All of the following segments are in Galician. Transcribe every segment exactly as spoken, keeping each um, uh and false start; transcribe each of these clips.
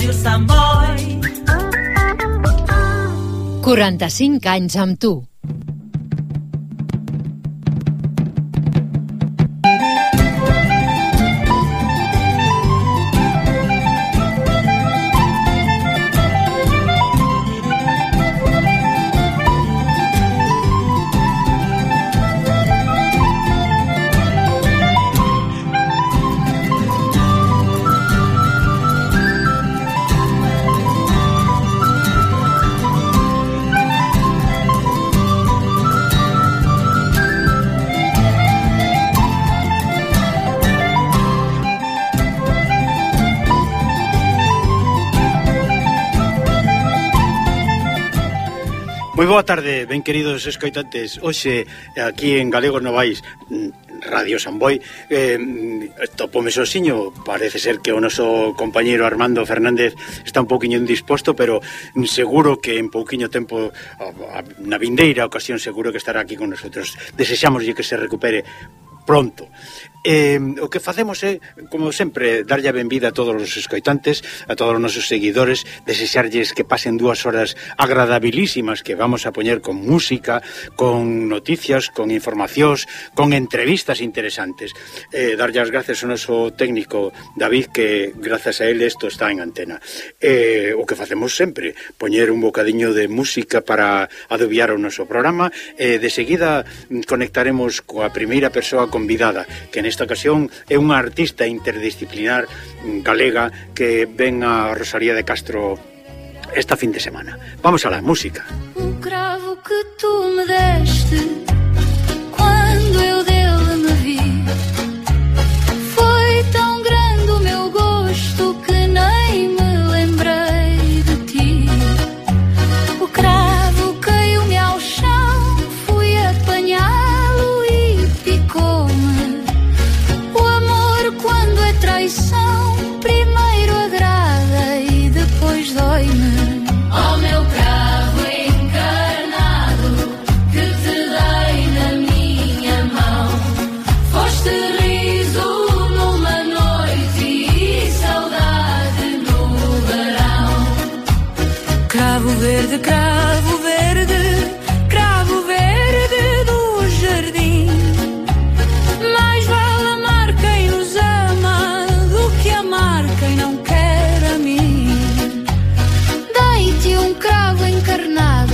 Ràdio Sant Boi. quaranta-cinc anys amb tu. Moi boa tarde, ben queridos escoitantes. Hoxe, aquí en Galegos Novais, Radio San Boi, eh, topome sosiño. Parece ser que o noso compañeiro Armando Fernández está un pouquiño indisposto, pero seguro que en pouquiño tempo, na vindeira ocasión, seguro que estará aquí con nosotros. Desexámoslle que se recupere pronto. Eh, o que facemos é, como sempre, darlle a benvida a todos os escoitantes, a todos os nosos seguidores, desexarlles que pasen dúas horas agradabilísimas que vamos a poñer con música, con noticias, con informacións, con entrevistas interesantes. Eh, darlle as gracias ao noso técnico David, que grazas a él isto está en antena. Eh, o que facemos sempre, poñer un bocadiño de música para adobiar o noso programa. Eh, de seguida conectaremos coa primeira persoa convidada, que nesta ocasión é unha artista interdisciplinar galega que ven a Rosalía de Castro esta fin de semana. Vamos a la música. O cravo que tu me deste quando eu dele me vi foi tão grande o meu gosto que nem me lembrei de ti. O cravo caiu-me ao chão, fui apanhá-lo e picou-me. Quando é traição, primeiro agrada e depois dói-me. Oh, meu cravo encarnado, que te dei na minha mão. Foste riso numa noite e saudade no verão. Cravo verde, cravo verde, cravo verde do jardim. Mais vale amar quem nos ama do que amar quem não quer a mim. Dei-te um cravo encarnado,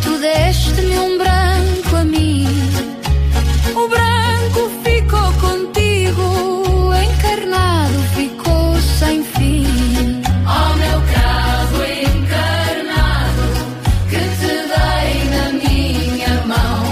tu deste-me um branco a mim. O branco ficou contigo, encarnado ficou sem fim. Oh, meu cravo encarnado, que te dei na minha mão.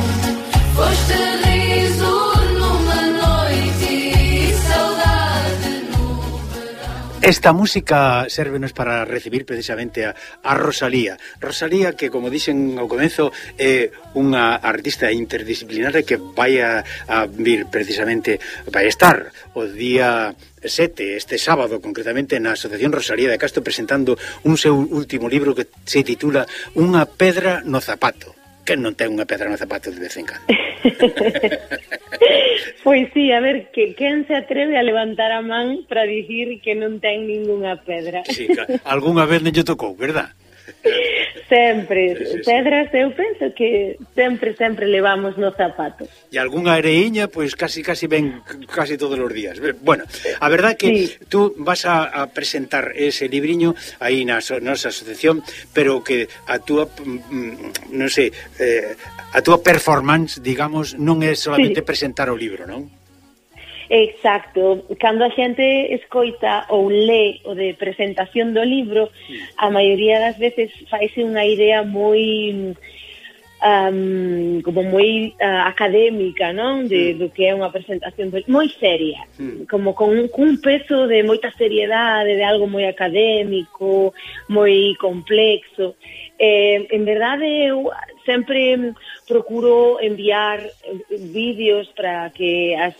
Foste riso numa noite e saudade no verão. Esta música sérvenos para recibir precisamente a, a Rosalía. Rosalía, que, como dixen ao comezo, é unha artista interdisciplinar que vai a, a vir precisamente, vai estar o día sete, este sábado, concretamente, na Asociación Rosalía de Castro, presentando un seu último libro que se titula Unha pedra no zapato. Que non ten unha pedra no zapato de vez en cando? Pois sí, a ver, que quen se atreve a levantar a man para dicir que non ten ningunha pedra? Sí, algunha vez non lle tocou, verdad? Sempre, sí, sí, pedras eu penso que sempre, sempre levamos no zapato. E algunha areiña, pois casi casi ven casi todos os días. Bueno, a verdad que sí, tú vas a, a presentar ese libriño aí na so, nosa asociación, pero que a túa, non sei, eh, a túa performance, digamos, non é solamente sí, presentar o libro, non? Exacto, cando a xente escoita ou lé o de presentación do libro, a maioría das veces faise unha idea moi um, como moi uh, académica, non? De, do que é unha presentación do, moi seria, mm. como con un, con un peso de moita seriedade, de algo moi académico, moi complexo. Eh, en verdade, eu sempre procuro enviar vídeos para que as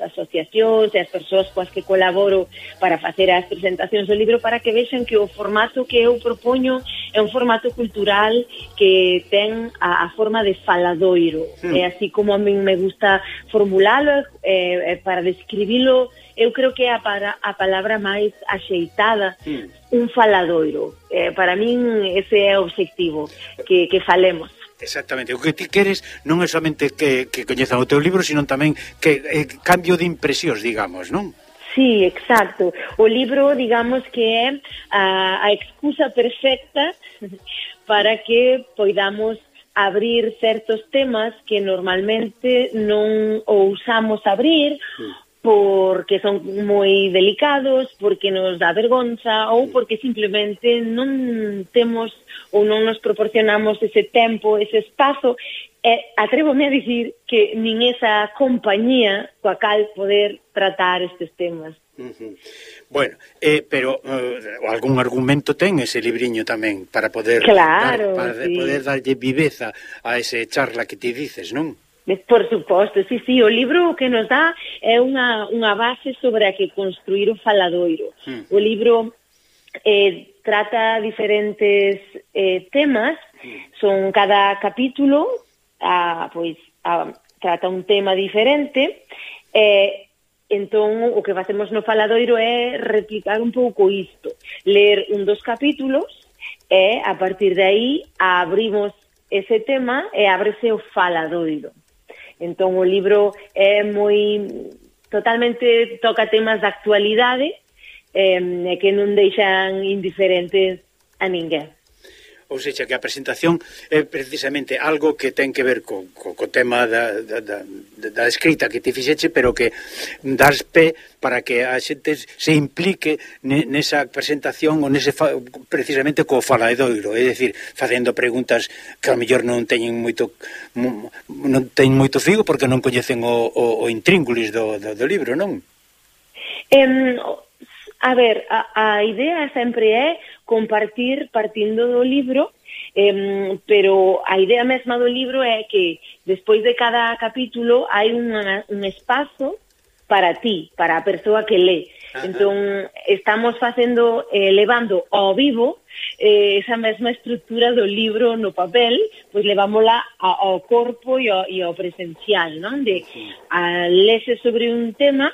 asociacións e as persoas coas que colaboro para facer as presentacións do libro, para que vexan que o formato que eu propoño é un formato cultural que ten a, a forma de faladoiro. Mm. É así como a min me gusta formulalo, eh, eh, para describilo, eu creo que é a, para, a palabra máis axeitada, mm. un faladoiro. Eh, para min ese é o obxectivo, que, que falemos. Exactamente, o que ti queres non é somente que, que coñezan o teu libro, sino tamén que eh, cambio de impresións, digamos, non? Sí, exacto. O libro, digamos que é a, a excusa perfecta para que poidamos abrir certos temas que normalmente non ousamos abrir, mm. porque son moi delicados, porque nos dá vergonza ou porque simplemente non temos ou non nos proporcionamos ese tempo, ese espazo. E atrévome a dicir que nin esa compañía coa cal poder tratar estes temas. Uh-huh. Bueno, eh, pero uh, algún argumento ten ese libriño tamén para poder claro, dar, para sí. poder darlle viveza a ese charla que ti dices, non? Por suposto, sí, sí, o libro que nos dá é unha, unha base sobre a que construir o faladoiro. Mm. O libro eh, trata diferentes eh, temas, mm. son cada capítulo, ah, pois, ah, trata un tema diferente, eh, entón o que facemos no faladoiro é replicar un pouco isto, ler un dos capítulos, e a partir de aí abrimos ese tema e ábrese o faladoiro. Entón o libro é moi totalmente toca temas de actualidade eh, e que non deixan indiferentes a ninguén. Ou seja, que a presentación é precisamente algo que ten que ver co, co, co tema da, da, da, da escrita que ti fixeche, pero que das pé para que a xente se implique nesa presentación ou nese fa, precisamente co faladoiro, é dicir, facendo preguntas que ao mellor non teñen moito non teñen moito figo porque non coñecen o, o, o intríngulis do, do, do libro, non? Um, a ver, a, a idea sempre é compartir partindo do libro, eh, pero a idea mesma do libro é que despois de cada capítulo hai unha, un espazo para ti, para a persoa que lé. Ajá. Entón, estamos facendo, eh, levando ao vivo eh, esa mesma estrutura do libro no papel, pois levámola ao corpo e ao, e ao presencial, non? De a lese sobre un tema,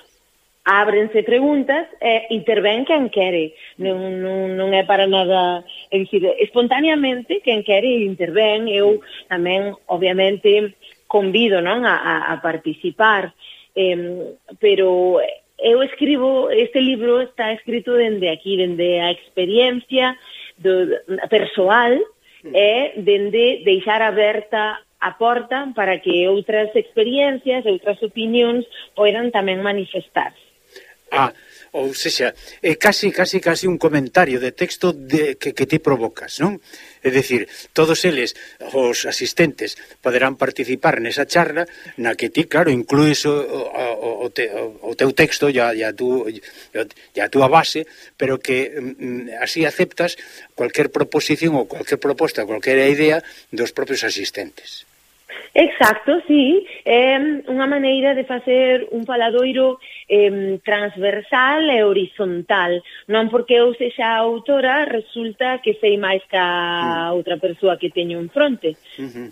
ábrense preguntas e intervén quen quere. Non, non, non é para nada, é dicir, espontaneamente quen quere intervén. Eu tamén, obviamente, convido, non, a, a participar, eh, pero eu escribo, este libro está escrito dende aquí, dende a experiencia do, persoal e dende deixar aberta a porta para que outras experiencias, outras opinións poidan tamén manifestarse. Ah, ou sexa, é casi, casi, casi un comentario de texto de, que, que ti provocas, non? É dicir, todos eles, os asistentes, poderán participar nesa charla na que ti, claro, incluís o, o, o, te, o teu texto e a, a, tu, a túa base, pero que mm, así aceptas cualquier proposición ou cualquier proposta, cualquier idea dos propios asistentes. Exacto, sí, é unha maneira de facer un faladoiro eh, transversal e horizontal, non porque eu sexa autora resulta que sei máis que a outra persoa que teño en fronte. Uh-huh.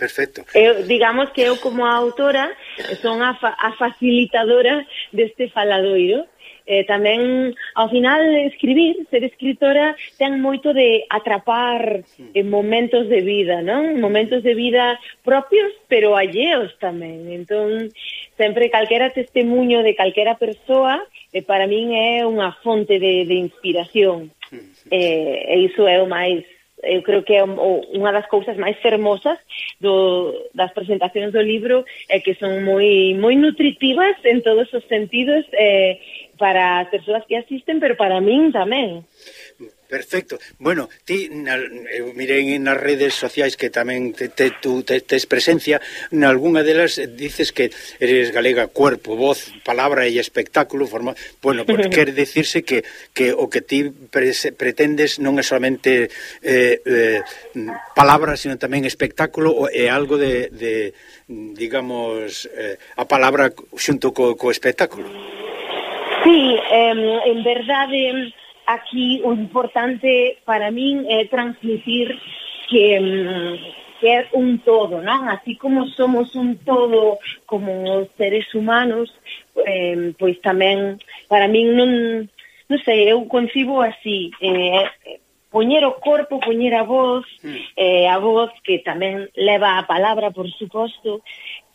Perfecto. Eu, digamos que eu como autora son a, fa a facilitadora deste faladoiro. Eh, tamén, ao final, escribir, ser escritora, ten moito de atrapar en momentos de vida, non? Momentos de vida propios, pero alleos tamén. Entón, sempre calquera testemunho de calquera persoa, eh, para min é unha fonte de, de inspiración. Eh, e iso é o máis, eu creo que é unha das cousas máis fermosas do, das presentacións do libro, é que son moi, moi nutritivas en todos os sentidos, eh, para as persoas que asisten, pero para min tamén. Perfecto. Bueno, ti, na, eu mirei nas redes sociais que tamén te, te, tú te, tes presencia, nalgúna delas dices que eres galega cuerpo, voz, palabra e espectáculo, forma... Bueno, pues quere dicirse que, que o que ti pre, pretendes non é solamente eh, eh, palabra, sino tamén espectáculo e algo de, de digamos, eh, a palabra xunto co, co espectáculo. Sí, eh, en verdade... Aquí o importante para min é transmitir que, que é un todo, non? Así como somos un todo como seres humanos, eh, pois tamén para min non, non sei, eu concibo así, eh, poñer o corpo, poñer a voz, eh, a voz que tamén leva a palabra, por suposto,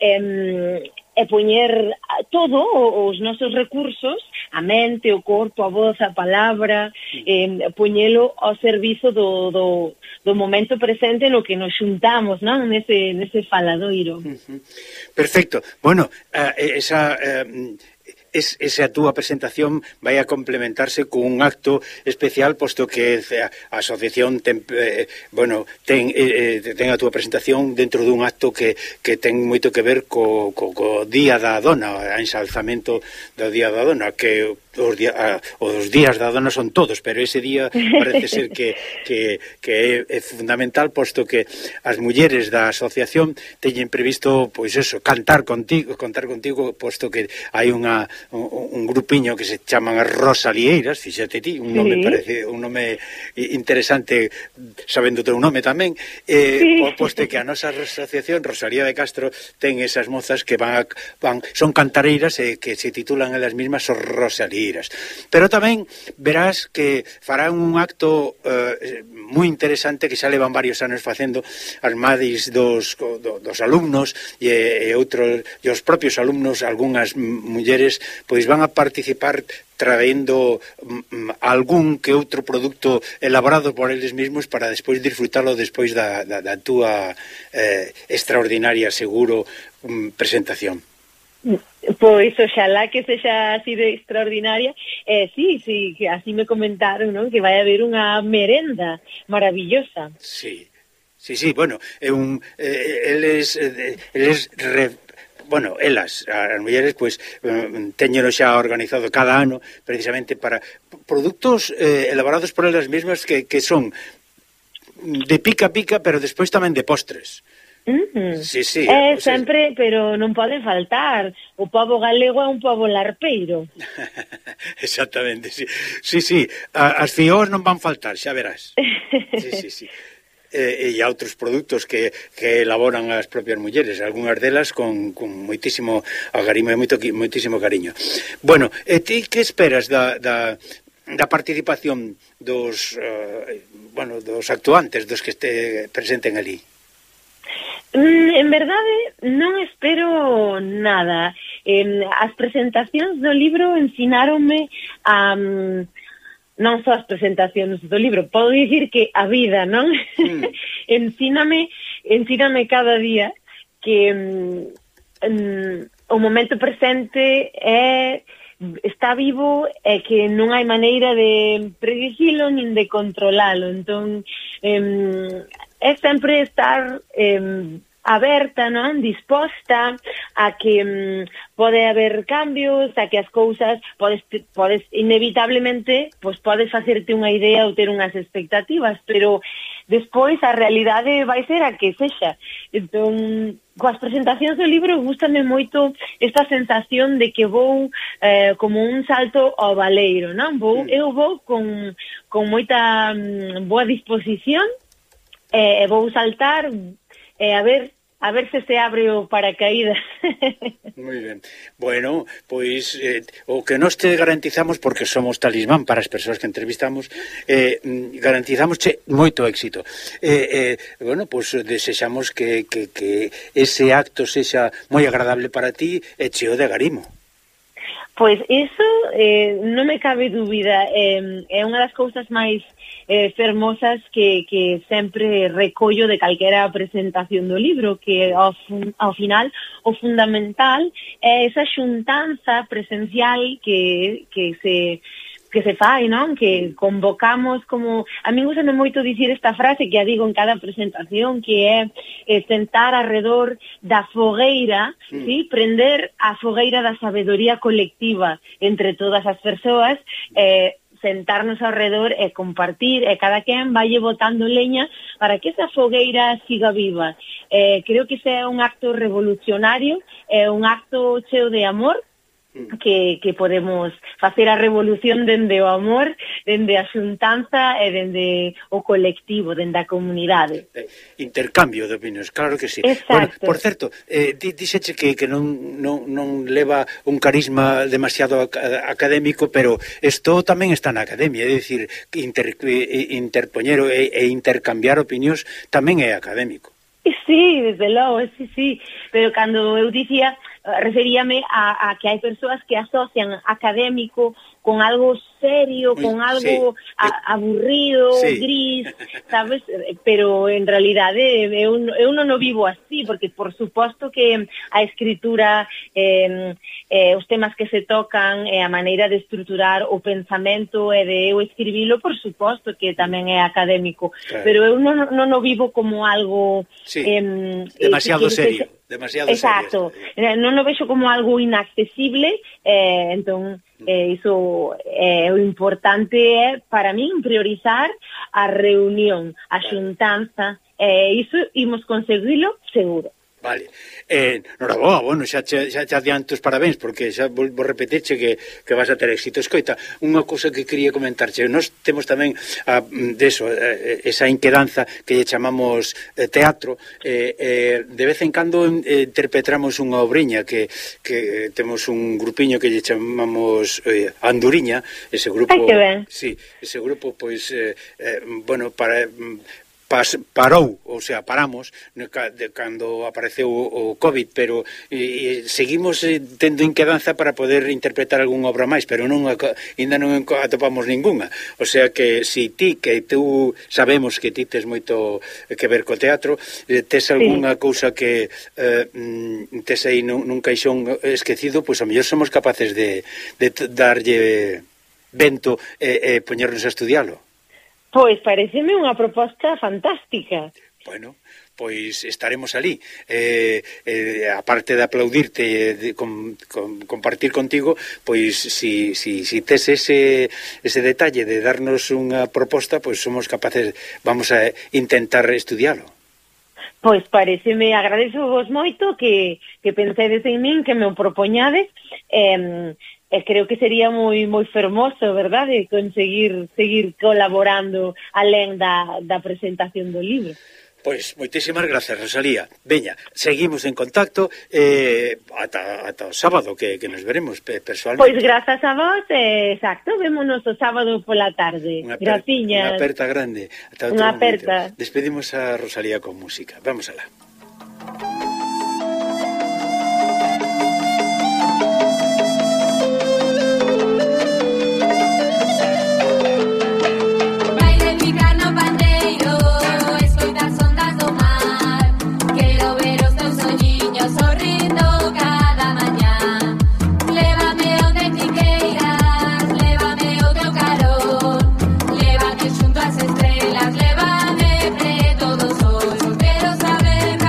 eh, e poñer todo os nosos recursos, a mente, o corpo, a voz, a palabra, eh, poñelo ao servizo do, do, do momento presente no que nos xuntamos, non? Nese, nese faladoiro. Uh-huh. Perfecto. Bueno, uh, esa... Uh, Es, esa túa presentación vai a complementarse con un acto especial, posto que a, a asociación ten, eh, bueno, ten, eh, ten a túa presentación dentro dun acto que, que ten moito que ver co, co, co Día da Dona, o ensalzamento do Día da Dona, que os, día, a, os días da dona son todos, pero ese día parece ser que, que, que é, é fundamental, posto que as mulleres da asociación teñen previsto, pois eso, cantar contigo, contar contigo, posto que hai unha Un, un grupiño que se chaman as Rosalieiras, fíxate ti, un nome sí. parece un nome interesante, sabendo o teu nome tamén, eh, sí. posto que a nosa asociación Rosalía de Castro ten esas mozas que van, a, van son cantareiras e eh, que se titulan elas mismas os Rosalieiras. Pero tamén verás que farán un acto eh, moi interesante que xa levan varios anos facendo as madres dos, do, dos alumnos e, e outros e os propios alumnos, algunhas mulleres pois van a participar traendo mm, algún que outro produto elaborado por eles mesmos para despois disfrutalo despois da, da, da túa eh, extraordinaria, seguro, mm, presentación. Pois oxalá que sexa así de extraordinaria. Eh, sí, sí, que así me comentaron, non? Que vai haber unha merenda maravillosa. Sí, sí, sí, bueno, é un, eh, eles, eh, eles re, bueno, elas, as mulleres, pois, eh, teñeno xa organizado cada ano precisamente para produtos eh, elaborados por elas mesmas que, que son de pica pica, pero despois tamén de postres. Mm. Sí, sí, eh, o sea, sempre, pero non poden faltar. O pobo galego é un pobo larpeiro. Exactamente, sí. Sí, sí, as fiós non van faltar, xa verás. Sí, sí, sí. E, e outros produtos que, que elaboran as propias mulleres, algunhas delas con, con moitísimo agarimo e moito, moitísimo cariño. Bueno, e ti que esperas da, da, da participación dos, uh, bueno, dos actuantes, dos que este presenten ali? Mm, en verdade, non espero nada. Eh, as presentacións do libro ensinaronme a... Um, non só as presentacións do libro, podo dicir que a vida, non? Mm. ensíname, ensíname cada día que um, o momento presente é está vivo e que non hai maneira de predicilo nin de controlalo. Entón, um, é sempre estar um, aberta, non? Disposta a que um, pode haber cambios, a que as cousas podes, podes inevitablemente, pois podes facerte unha idea ou ter unhas expectativas, pero despois a realidade vai ser a que sexa. Entón, coas presentacións do libro gústame moito esta sensación de que vou eh, como un salto ao baleiro, non? Vou, eu vou con, con moita um, boa disposición e eh, vou saltar e eh, a ver a ver se se abre o paracaídas. Moi ben. Bueno, pois eh, o que nós te garantizamos, porque somos talismán para as persoas que entrevistamos, eh, garantizamos che moito éxito. Eh, eh, bueno, pois desexamos que, que, que ese acto sexa moi agradable para ti e cheo de agarimo. Pois iso eh, non me cabe dúbida, eh, é unha das cousas máis eh, fermosas que, que sempre recollo de calquera presentación do libro, que ao, ao final o fundamental é esa xuntanza presencial que, que se que se fai, non? Que convocamos como... A min gusta moito dicir esta frase que a digo en cada presentación, que é eh, sentar alrededor da fogueira, mm. sí? Prender a fogueira da sabedoría colectiva entre todas as persoas, eh, sentarnos alrededor e compartir, e cada quen valle botando leña para que esa fogueira siga viva. Eh, creo que ese é un acto revolucionario, é un acto cheo de amor, que, que podemos facer a revolución dende o amor, dende a xuntanza e dende o colectivo, dende a comunidade. Intercambio de opinións, claro que sí. Exacto. Bueno, por certo, eh, dixeche que, que non, non, non leva un carisma demasiado ac académico, pero isto tamén está na academia, é dicir, inter, interpoñer e, e intercambiar opinións tamén é académico. Sí, desde logo, sí, sí, pero cando eu dicía, referíame a, a que hai persoas que asocian académico con algo serio, Uy, con algo sí. a, aburrido, sí. gris, sabes? Pero en realidade eu, eu non o vivo así, porque por suposto que a escritura, eh, eh, os temas que se tocan, e eh, a maneira de estruturar o pensamento e de eu escribilo, por suposto que tamén é académico, claro. Pero eu non, non o vivo como algo... Sí. Eh, demasiado que, serio. Que, demasiado exacto, serio. Non o vexo como algo inaccesible, eh, entón eh, iso é eh, o importante é para min priorizar a reunión, a xuntanza, e eh, iso imos conseguilo seguro. Vale. Eh, noraboa, bueno, xa, xa, xa te adianto os parabéns, porque xa vou, vou repetirche que, que vas a ter éxito. Escoita, unha cousa que quería comentarche, nós temos tamén a, deso, eh, esa inquedanza que lle chamamos eh, teatro, eh, eh, de vez en cando eh, interpretamos unha obriña que, que temos un grupiño que lle chamamos eh, Anduriña, ese grupo... Ai, que ben. Sí, ese grupo, pois, eh, eh, bueno, para... Pas, parou, ou sea, paramos de, cando apareceu o, o COVID, pero e, e seguimos eh, tendo inquedanza para poder interpretar algunha obra máis, pero non ainda non atopamos ninguna. O sea que si ti, que tú sabemos que ti tes moito que ver co teatro, eh, tes algunha sí. cousa que eh, tes aí nun, nun caixón esquecido, pois pues, a mellor somos capaces de, de darlle vento e eh, eh, poñernos a estudialo. Pois pareceme unha proposta fantástica. Bueno, pois estaremos ali. Eh, eh, aparte de aplaudirte e de com, com, compartir contigo, pois si, si, si tes ese, ese detalle de darnos unha proposta, pois somos capaces, vamos a intentar estudialo. Pois pareceme, agradezo vos moito que, que pensedes en min, que me o propoñades, eh, e creo que sería moi moi fermoso, verdade, conseguir seguir colaborando alén da, da presentación do libro. Pois, moitísimas grazas, Rosalía. Veña, seguimos en contacto eh, ata, ata o sábado que, que nos veremos personalmente. Pois grazas a vos, eh, exacto, vémonos o sábado pola tarde. Graciñas. Unha aperta grande. Ata unha aperta. Despedimos a Rosalía con música. Vamos alá. Junto a as estrelas, lévame preto dos ollos, quero saber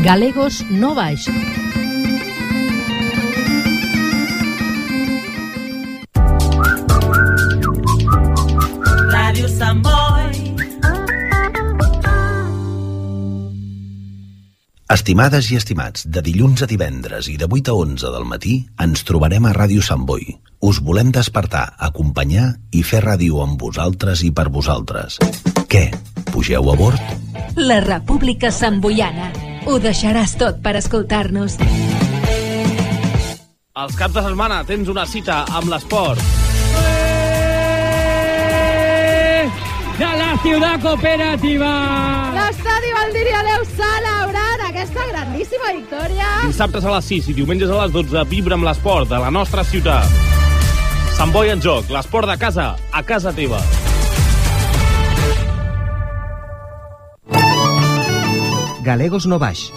Galegos no baix. Ràdio Sant Boi. Estimades i estimats, de dilluns a divendres i de vuit a onze del matí ens trobarem a Ràdio Sant Boi. Us volem despertar, acompanyar i fer ràdio amb vosaltres i per vosaltres. Què? Pugeu a bord? La República Santboiana. Ho deixaràs tot per escoltar-nos. Els caps de setmana tens una cita amb l'esport. De la Ciutat Cooperativa! L'estadi Valdiria Deu celebrant aquesta grandíssima victòria. Dissabtes a les sis i diumenges a les dotze vibra amb l'esport de la nostra ciutat. Sant Boi en joc, l'esport de casa, a casa teva. Galegos no baix.